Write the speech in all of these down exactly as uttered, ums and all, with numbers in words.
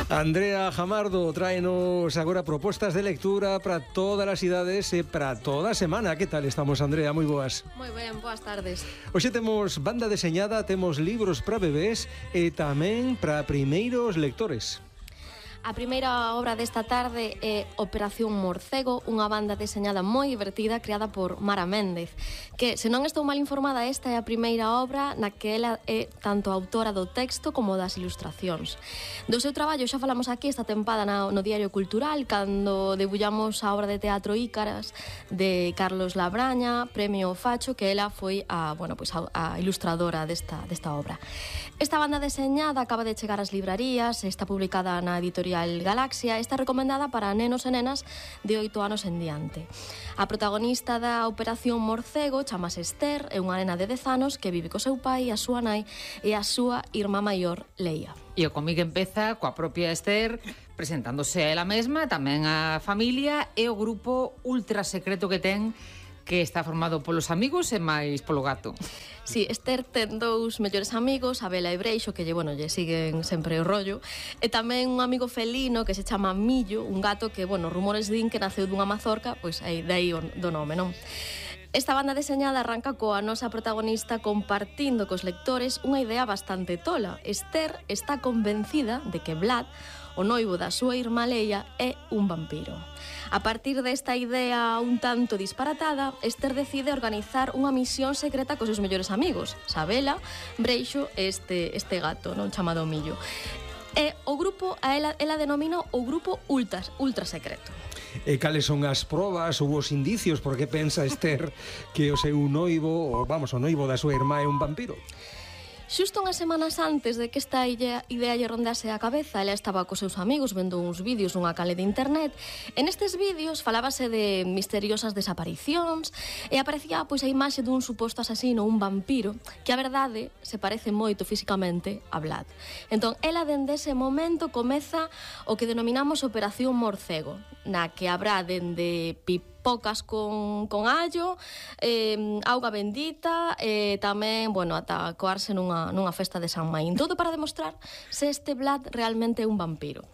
Andrea Jamardo tráenos agora propostas de lectura para todas as idades e para toda a semana. Que tal estamos, Andrea? Moi boas. Moi ben, boas tardes. Hoxe temos banda deseñada, temos libros para bebés e tamén para primeiros lectores. A primeira obra desta tarde é Operación Morcego, unha banda deseñada moi divertida creada por Mara Méndez, que, se non estou mal informada, esta é a primeira obra na que ela é tanto autora do texto como das ilustracións. Do seu traballo xa falamos aquí esta tempada no, no Diario Cultural, cando debullamos a obra de teatro Ícaras de Carlos Labraña, premio Facho, que ela foi a, bueno, pues a, a ilustradora desta, desta obra. Esta banda deseñada acaba de chegar ás librarías, está publicada na editorial Galaxia, está recomendada para nenos e nenas de oito anos en diante. A protagonista da Operación Morcego chamase Esther, é unha nena de dez anos que vive co seu pai, a súa nai e a súa irmá maior, Leia. E o cómic empeza coa propia Esther presentándose a ela mesma, tamén a familia e o grupo ultra secreto que ten, que está formado polos amigos e máis polo gato. Si, sí, Esther ten dous mellores amigos, Abela e Breixo, que lle, bueno, lle siguen sempre o rollo, e tamén un amigo felino que se chama Millo, un gato que, bueno, rumores din que naceu dunha mazorca, pois aí, dai o do nome, non? Esta banda deseñada arranca coa nosa protagonista compartindo cos lectores unha idea bastante tola. Esther está convencida de que Vlad, o noivo da súa irmá Leia, é un vampiro. A partir desta idea un tanto disparatada, Esther decide organizar unha misión secreta cos seus mellores amigos, Sabela, Breixo e este, este gato, non, chamado Millo. E o grupo, a ela, ela denomina o grupo ultra, ultra secreto. E cales son as probas ou os indicios por que pensa Esther que o seu noivo, ou vamos, o noivo da súa irmá é un vampiro? Xusto unhas semanas antes de que esta idea, idea lle rondase a cabeza, ela estaba cos seus amigos vendo uns vídeos nunha cale de internet. En estes vídeos falábase de misteriosas desaparicións e aparecía pois a imaxe dun suposto asasino, un vampiro, que a verdade se parece moito fisicamente a Vlad. Entón, ela dende ese momento comeza o que denominamos Operación Morcego, na que habrá dende pip pocas con, con allo, eh, auga bendita e eh, tamén, bueno, ata coarse nunha, nunha festa de San Maín. Todo para demostrar se este Vlad realmente é un vampiro.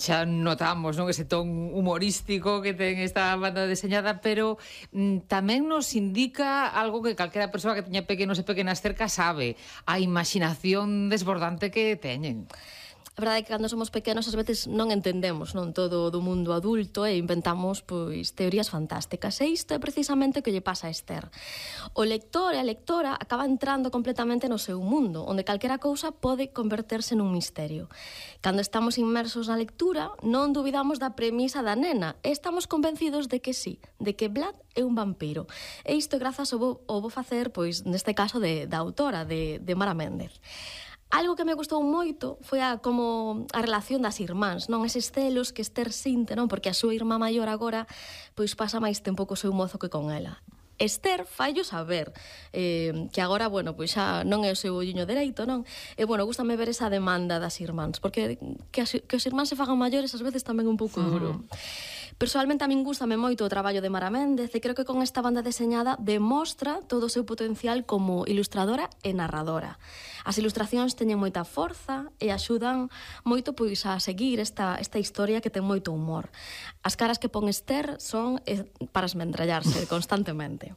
Xa notamos, non, ese ton humorístico que ten esta banda deseñada, pero mm, tamén nos indica algo que calquera persoa que teña pequenos e pequenas cerca sabe, a imaginación desbordante que teñen. A verdade é que cando somos pequenos ás veces non entendemos, non, todo do mundo adulto e inventamos pois teorías fantásticas. E isto é precisamente o que lle pasa a Esther. O lector e a lectora acaba entrando completamente no seu mundo, onde calquera cousa pode converterse nun misterio. Cando estamos inmersos na lectura, non dubidamos da premisa da nena e estamos convencidos de que sí, de que Vlad é un vampiro. E isto grazas ao bo, ao bo facer, pois, neste caso, de, da autora, de, de Mara Méndez. Algo que me gustou moito foi a como a relación das irmáns, non, eses celos que Esther sinte, non, porque a súa irmá maior agora pois pasa máis tempo co seu mozo que con ela. Esther faillo saber eh, que agora, bueno, pois xa non é o seu olliño dereito, non? E, bueno, gústame ver esa demanda das irmáns, porque que, as, que os irmáns se fagan maiores ás veces tamén un pouco duro. Uh-huh. Personalmente a min gústame moito o traballo de Mara Méndez e creo que con esta banda deseñada demostra todo o seu potencial como ilustradora e narradora. As ilustracións teñen moita forza e axudan moito pois a seguir esta, esta historia que ten moito humor. As caras que pon Esther son eh, para esmendrallarse constantemente.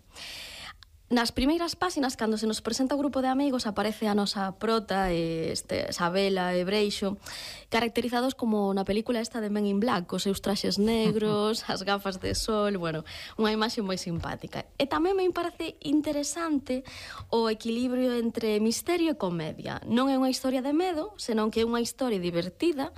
Nas primeiras páxinas, cando se nos presenta o grupo de amigos, aparece a nosa prota, este, Sabela e Breixo, caracterizados como na película esta de Men in Black, os seus traxes negros, as gafas de sol, bueno, unha imaxe moi simpática. E tamén me parece interesante o equilibrio entre misterio e comedia. Non é unha historia de medo, senón que é unha historia divertida,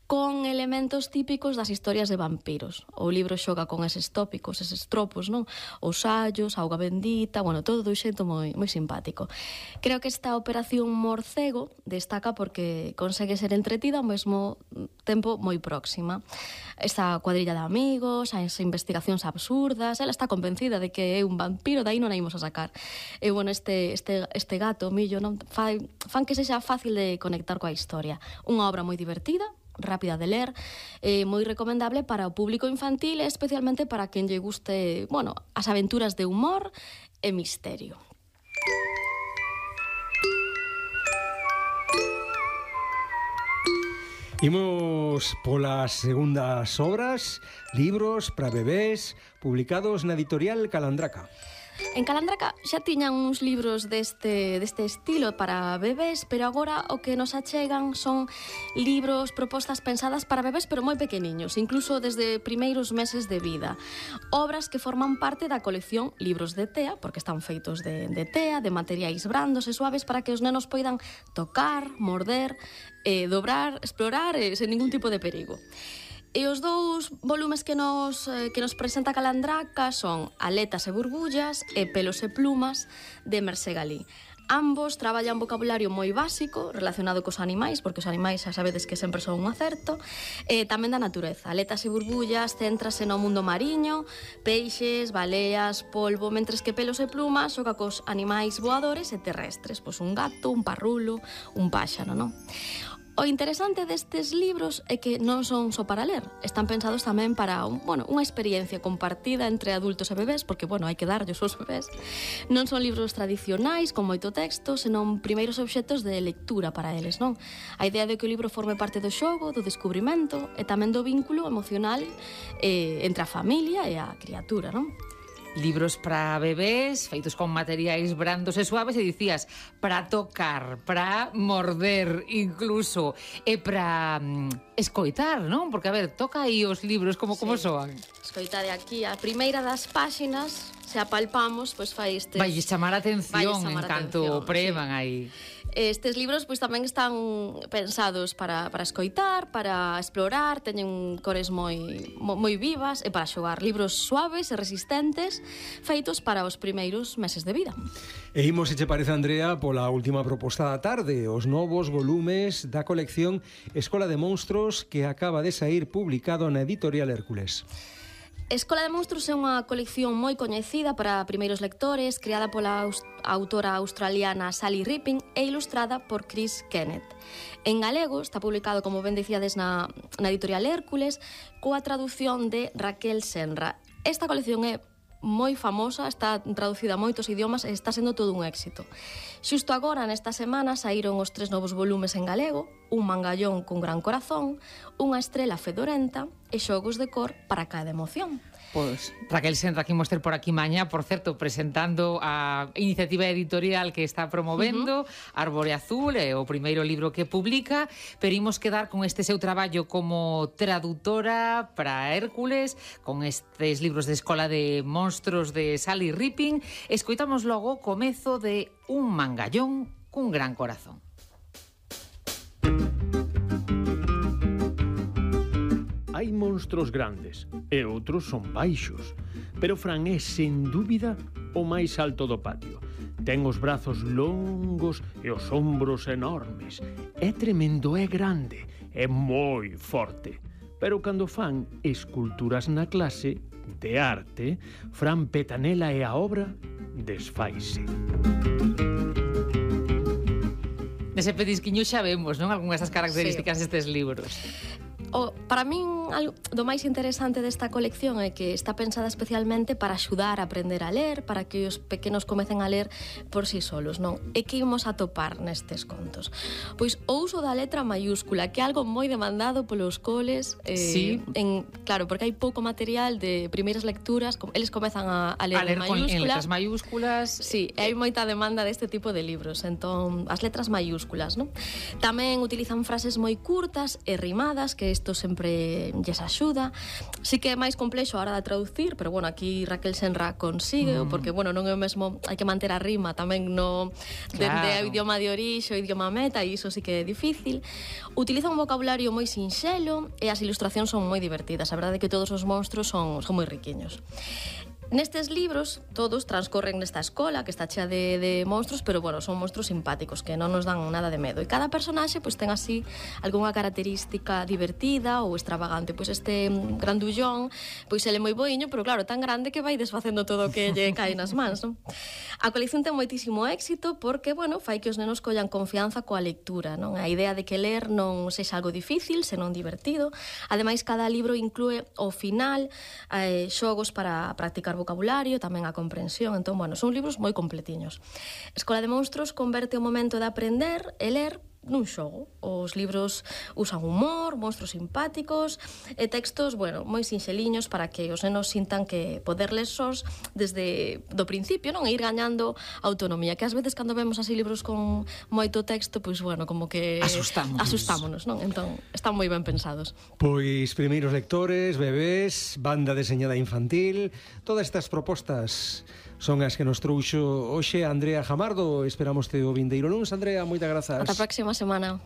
con elementos típicos das historias de vampiros. O libro xoga con eses tópicos, eses tropos, non? Os allos, a auga bendita, bueno, todo do xeito moi, moi simpático. Creo que esta Operación Morcego destaca porque consegue ser entretida ao mesmo tempo moi próxima. Esta cuadrilla de amigos, as investigacións absurdas, ela está convencida de que é un vampiro, dai non a imos a sacar. E, bueno, este, este, este gato, Millo, non? Fan, fan que sexa fácil de conectar coa historia. Unha obra moi divertida, rápida de ler, eh, moi recomendable para o público infantil e especialmente para quen lle guste, bueno, as aventuras de humor e misterio. Imos polas segundas obras, libros para bebés, publicados na editorial Calandraca. En Calandraca xa tiñan uns libros deste, deste estilo para bebés, pero agora o que nos achegan son libros, propostas pensadas para bebés, pero moi pequeniños, incluso desde primeiros meses de vida. Obras que forman parte da colección Libros de Tea, porque están feitos de, de tea, de materiais brandos e suaves para que os nenos poidan tocar, morder, eh, dobrar, explorar eh, sen ningún tipo de perigo. E os dous volumes que nos, eh, que nos presenta Calandraca son Aletas e burbullas e Pelos e plumas de Mercé Galí. Ambos traballan vocabulario moi básico relacionado cos animais, porque os animais xa sabedes que sempre son un acerto, e tamén da natureza. Aletas e burbullas céntrase no mundo mariño, peixes, baleas, polvo, mentres que Pelos e plumas xoga cos animais voadores e terrestres, pois un gato, un parrulo, un páxaro, non? O interesante destes libros é que non son só para ler, están pensados tamén para un, bueno, unha experiencia compartida entre adultos e bebés, porque, bueno, hai que darlles aos bebés. Non son libros tradicionais con moito texto, senón primeiros obxectos de lectura para eles, non? A idea de que o libro forme parte do xogo, do descubrimento e tamén do vínculo emocional eh, entre a familia e a criatura, non? Libros para bebés, feitos con materiais brandos e suaves, e dicías, para tocar, para morder incluso, e para mm, escoitar, non? Porque, a ver, toca aí os libros, como, sí. como soan? Escoitade aquí, a primeira das páxinas, se apalpamos, pois fai estes... Vai chamar a atención en canto preman sí. aí. Estes libros pois tamén están pensados para, para escoitar, para explorar, teñen cores moi, moi vivas e para xogar. Libros suaves e resistentes feitos para os primeiros meses de vida. E imos, se che parece, Andrea, pola última proposta da tarde, os novos volumes da colección Escola de Monstros que acaba de saír publicado na editorial Hércules. Escola de Monstros é unha colección moi coñecida para primeiros lectores, creada pola aus autora australiana Sally Ripping e ilustrada por Chris Kenneth. En galego está publicado, como ben dicíades, na, na editorial Hércules, coa traducción de Raquel Senra. Esta colección é moi famosa, está traducida a moitos idiomas e está sendo todo un éxito. Xusto agora, nesta semana, saíron os tres novos volumes en galego, Un mangallón cun gran corazón, Unha estrela fedorenta e Xogos de cor para cada emoción. Pois, Raquel Senra, que imos ter por aquí mañá, por certo, presentando a iniciativa editorial que está promovendo, uh-huh. Árbore Azul, é o primeiro libro que publica, pero imos quedar con este seu traballo como traductora para Hércules, con estes libros de Escola de Monstros de Sally Ripping. Escoitamos logo o comezo de Un mangallón cun gran corazón. Hai monstros grandes e outros son baixos, pero Fran é, sen dúbida, o máis alto do patio. Ten os brazos longos e os ombros enormes. É tremendo, é grande, é moi forte. Pero cando fan esculturas na clase de arte, Fran Petanela e a obra desfaise. Nese pedisquiño xa vemos, non? Algúnas das características sí. destes libros. O, para min, algo do máis interesante desta colección é que está pensada especialmente para axudar a aprender a ler, para que os pequenos comecen a ler por si solos, non? E que imos a topar nestes contos? Pois o uso da letra maiúscula, que é algo moi demandado polos coles, eh, sí. en, claro, porque hai pouco material de primeiras lecturas, eles comezan a, a ler, a ler en maiúscula. En letras maiúsculas. Sí, e hai moita demanda deste tipo de libros, entón, as letras maiúsculas, non? Tamén utilizan frases moi curtas e rimadas, que isto sempre lles axuda. Sí que é máis complexo a hora de traducir, pero bueno, aquí Raquel Senra consigue, mm. porque bueno, non é o mesmo, hai que manter a rima tamén no dende claro. o idioma de orixe, o idioma meta, e iso sí que é difícil. Utiliza un vocabulario moi sinxelo e as ilustracións son moi divertidas. A verdade é que todos os monstros son, son moi riquiños. Nestes libros, todos transcorren nesta escola que está chea de, de monstros, pero, bueno, son monstros simpáticos que non nos dan nada de medo. E cada personaxe, pois, ten así algunha característica divertida ou extravagante. Pois este grandullón, pois ele é moi boiño, pero, claro, tan grande que vai desfacendo todo o que lle cae nas mans, non? A colección ten moitísimo éxito porque, bueno, fai que os nenos collan confianza coa lectura, non? A idea de que ler non sexa algo difícil, senón divertido. Ademais, cada libro inclúe ao final eh, xogos para practicar vocabulario, tamén a comprensión. Entón, bueno, son libros moi completiños. Escola de Monstros converte o momento de aprender e ler nun xogo. Os libros usan humor, monstros simpáticos e textos, bueno, moi sinxeliños para que os nenos sintan que poder ler sós desde do principio, non? E ir gañando autonomía, que ás veces cando vemos así libros con moito texto, pois bueno, como que Asustámonos. asustámonos, non? Entón, están moi ben pensados. Pois primeiros lectores, bebés, banda deseñada infantil, todas estas propostas son as que nos trouxo hoxe Andrea Jamardo. Esperamos te o vindeiro luns. Andrea, moitas grazas. Ata a próxima semana.